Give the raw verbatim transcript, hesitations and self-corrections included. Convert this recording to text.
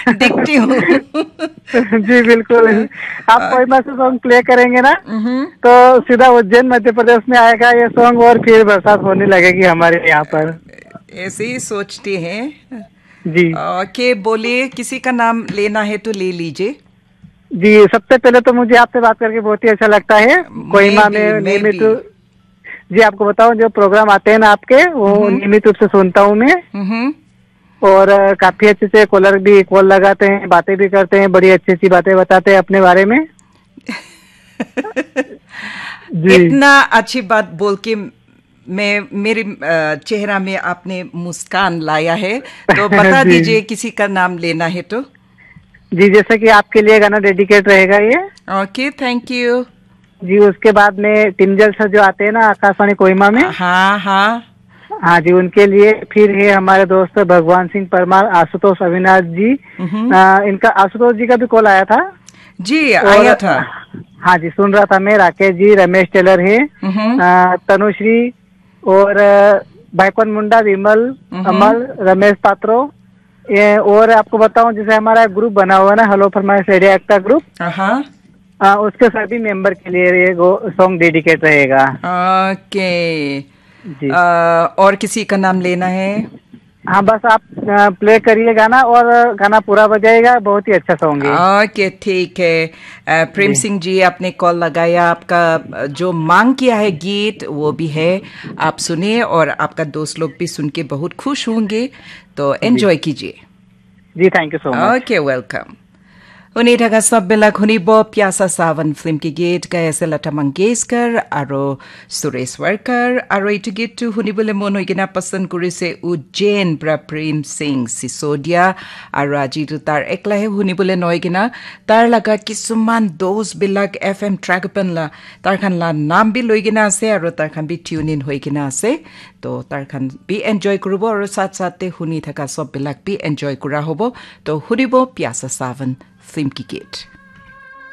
देखती हूँ। जी बिल्कुल। आप कोहिमा से सॉन्ग प्ले करेंगे ना, तो सीधा उज्जैन मध्य प्रदेश में आएगा ये सॉन्ग और फिर बरसात होने लगेगी हमारे यहाँ पर। ऐसे ही सोचते हैं। जी। ओके, बोलिए, किसी का नाम लेना है तो ले लीजिए। जी, सबसे पहले तो मुझे आपसे बात करके बहुत ही अच्छा लगता है। मैं कोहिमा भी, में मैं नियमित भी। जी, आपको बताऊं, जो प्रोग्राम आते हैं ना आपके, वो नियमित रूप से सुनता हूँ मैं। हम्म। और अ, काफी अच्छे से कॉलर भी कॉल लगाते हैं, बातें भी करते हैं, बड़ी अच्छी अच्छी बातें बताते हैं अपने बारे में। जी। इतना अच्छी बात बोल के मैं, मेरे अ, चेहरा में आपने मुस्कान लाया है। तो बता जी। दीजिए, किसी का नाम लेना है तो। जी, जैसे कि आपके लिए गाना डेडिकेट रहेगा ये। ओके, थैंक यू। जी, उसके बाद में टिमजल सर जो आते हैं ना आकाशवाणी कोहिमा में, हाँ, हाँ। हाँ जी, उनके लिए। फिर है हमारे दोस्त भगवान सिंह परमार, आशुतोष अविनाश जी, हम्म। अ, इनका, आशुतोष जी का भी कॉल आया था। जी, और आया था। हाँ जी, सुन रहा था मैं। राकेश जी, रमेश टेलर है, हम्म। अ, तनुश्री और अ, भाईकॉन मुंडा, विमल, हम्म। अमल, रमेश पात्रो, ये, और आपको बताऊं, जैसे हमारा ग्रुप बना हुआ है ना, हेलो फरमाइश रेडियो एक्ट का ग्रुप, हाँ। आ, उसके सभी मेंबर के लिए ये सॉन्ग डेडिकेट रहेगा। ओके। जी। अ, और किसी का नाम लेना है? हाँ, बस आप प्ले करिए गाना और गाना पूरा बजाइएगा, बहुत ही अच्छा सॉन्ग है। ओके, ठीक है। अ, प्रेम जी। सिंह जी, आपने कॉल लगाया, आपका अ, जो मांग किया है गीत, वो भी है, आप सुनिए और आपका दोस्त लोग भी सुन के बहुत खुश होंगे। तो एंजॉय कीजिए। जी, thank you so much। Okay, welcome. Huni thaka sob bilak hunibo Pyasa Sawan film ki git gai ase Lata Mangeshkar aro Suresh Warkar, aro etu git tu hunibole mon hoi kena pasand kurise Ujjain pra Prem Singh Sisodia, aro aji tu tar ekla he hunibole nohoi kena tar laga kisuman dos bilak F M track pan la tar khan la naam bi loi kena ase aro tar khan bi tune in hoi kena ase. To tar khan bi enjoy kuribo aro sat sat te huni thaka sob bilak bi enjoy kura hobo. To hunibo Pyasa Sawan film ki git.